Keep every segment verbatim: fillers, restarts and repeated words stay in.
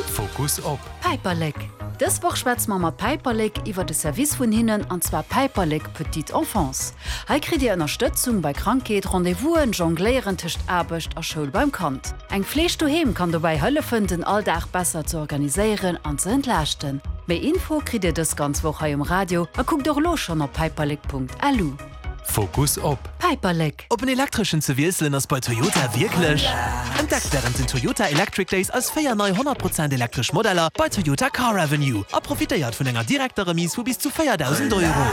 Fokus op. Päiperlek! Dës Woch schwätze mer mat Päiperlek iwwer de Service vun hinnen, an zwar Päiperlek Petite Enfance. Hei kritt Dir Ënnerstëtzung bei Krankheet, Rendez-vousen, Jongléieren tëscht Aarbecht a Schoul beim Kand. Eng Fleeg doheem kann dobäi hëllefen, den Alldag besser ze organiséieren an ze entlaaschten. Méi Info kritt Dir dës ganz Woch hei um Radio a kuckt och elo schonn op päiperlek Punkt L U. Fokus op. Päiperlek! Op en elektreschen ze wiesselen ass bei Toyota wierklech. Entdeckt wärend den Toyota Electric Days eis véier nei honnert Prozent elektresch Modeller bei Toyota Car Avenue a profitéiert vun enger direkter Remise vu bis zu véierdausend Euro.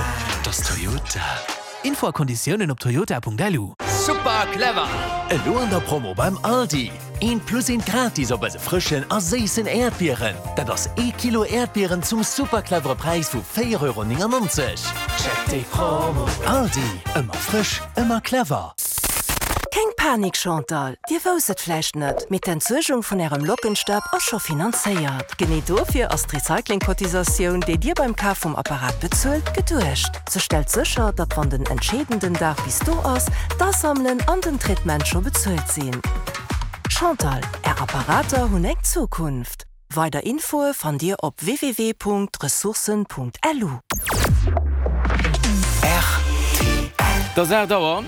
Dat ass Toyota. Info a Konditiounen op toyota Punkt L U. Super clever! Elo an der Promo beim Aldi. Eent plus eent gratis op eise frëschen a séissen Äerdbieren. Dat ass ee Kilo Äerdbieren zum super clevere Präis vu véier Euro néngennonzeg. Check déi Promo! Aldi, ëmmer frësch, ëmmer clever. Keng Panik Chantal, Dir wousst et vläicht net, mee d'Entsuergung vun Ärem Lockenstab ass scho finanzéiert. Genee dofir ass d'Recycling-Cotisatioun, déi Dir beim Kaf vum Apparat bezuelt, geduecht. Se stellt sécher, datt wann den entscheedenden Dag bis do ass, d'Asammelen an den Traitement scho bezuelt sinn. Chantal, Är Apparater hunn eng Zukunft. Weider Infoe fannt Dir op w w w Punkt ressourcen Punkt L U. Et ass aacht Auer.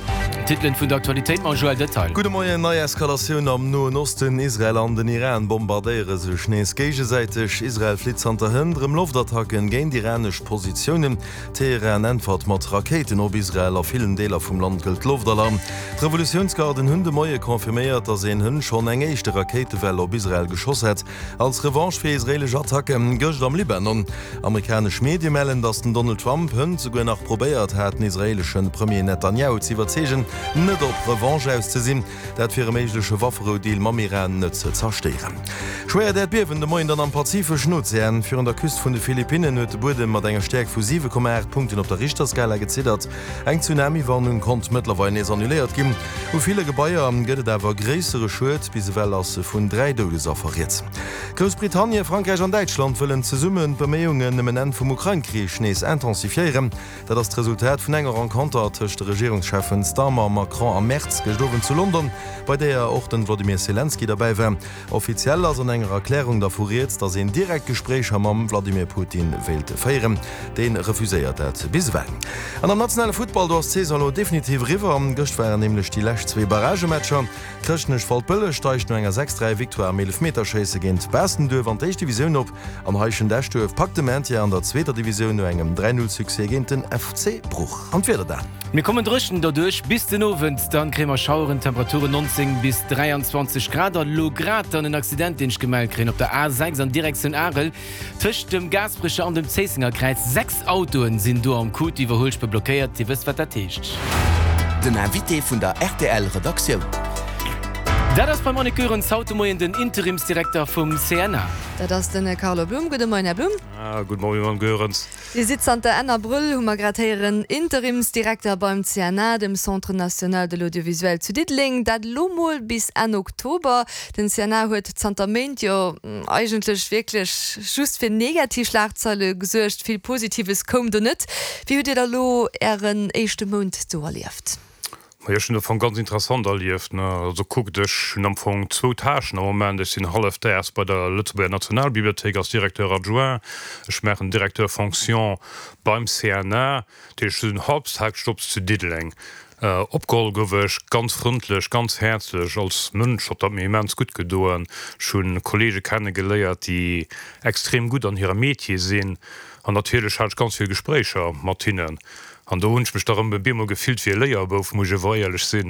D'Titelen vun der Aktualitéit mam Joël Detail. Gudde Moien, Nei Eskalatioun am Noen Osten, Israel an den Iran bombardéiere sech nees géigesäiteg. Israel flitt zanter hënt erëm Loftattacken géint iranesch Positiounen. Teheran äntwert mat Rakéiten op Israel. A villen Deeler vum Land gëllt Loftalarm. D'Revolutiounsgarden hunn de Moie confirméiert, datt een hënt schonn eng éischte Rakéitewell op Israel geschoss hätt, als Revanche fir israeelesch Attacke gëscht am Libanon. Amerikanesch Medie mellen, datt den Donald Trump hënt souguer nach probéiert hat, den israeelesche Premier Netanjahu ze iwwerzeegen, net op Revanche aus ze sinn, dat fir e méigleche Wafferou-Deal mam Iran net ze zerstéieren. Schwéiert Äerdbiewen de Moien dann am Pazifeschen Ozean. Virun der Küst vun de Philippinnen huet de Buedem mat enger Stäerkt vu siwe Komma aacht Punkten op der Richterskala geziddert. Eng Tsunami-Warnung konnt mëttlerweil nees annuléiert ginn. U ville Gebaier gëtt et awer gréissere Schued, bis ewell ass vun dräi Doudesaffer rieds. Groussbritannien, Frankräich an Däitschland wëllen zesummen d'Beméiungen ëm en Enn vum Ukrain-Krich nees intensifiéieren. Dat ass d'Resultat vun enger Renconter tëscht de Regierungscheffen Starmer, Macron a Merz gëscht Owend zu London, bei deeër och den Wladimir Selenskyj derbäi war. Offiziell ass an enger Erklärung dervu rieds, datt een direkt Gespréicher mam Wladimir Putin wéilt féieren. Dee refuséiert dat bis ewell. An am nationale Futtball, do ass d'Saison elo definitiv eriwwer. Gëscht waren nämlech déi lescht zwee Barragematcher. Chrëschtnech-Waldbëlleg steigt no enger sechs dräi Victoire am Eelefmeterschéisse géint Baastenduerf an d'éischt Divisioun op an Heischent-Eschduerf packt de Maintien an der zweeter Divisioun no engem dräi null Succès géint den F C Bruch. An d'Wieder dann. Mir kommen dréchen derduerch bis den Owend, dann kréie mer Schaueren, Temperaturen neunzéng bis dräianzwanzeg Grad. An elo grad dann en Accident, deen ech gemellt kréien op der A sechs an Direktioun Arel tëscht dem Gaasperecher an dem Zéissenger Kräiz. Sechs Autoen sinn do am Coup, d'Iwwerhuelspuer blockéiert. Dir wësst, wat dat heescht. Den Invité vun der R T L Redaktioun. Dat ass beim Annick Goerens haut de Moien den Interimsdirekter vum C N A. Dat ass den Carlo Blum. Gudde Moien, Här Blum. Ah, gudde Moien, Mme Goerens. Dir sidd zanter Enn Abrëll, hu mer grad héieren, Interimsdirekter beim C N A, dem Centre national de l'audiovisuel zu Diddeleng. Dat elo mol bis Enn Oktober. Den C N A huet zanter Méint jo eigentlech wierklech just fir negativ Schlagzeile gesuergt. Vill Positives koum do net. Wéi hutt Dir da lo Ären éischte Mount do erlieft? Ma jo, ech hunn am Fong ganz interessant erlieft, ne. Also kuckt, ech hunn am Fong zwou Tâchen am Moment. Ech sinn hallefdaags bei der Lëtzebuerger Nationalbibliothéik als Directeur adjoint. Ech maachen Directeur fonction beim C N A. Dat heescht, ech hunn Halbtagsjobs zu Diddeleng. Opgeholl gouf ech ganz frëndlech, ganz häerzlech. Als Mënsch huet dat mir immens gutt gedoen. Ech hunn Kollege kennegeléiert, déi extrem gutt an hirem Metier sinn. An natierlech hat ech ganz vill Gespréicher mat hinnen. An do hunn ech mech da rëm e bemol gefillt wéi e Léierbouf, muss ech awer éierlech sinn.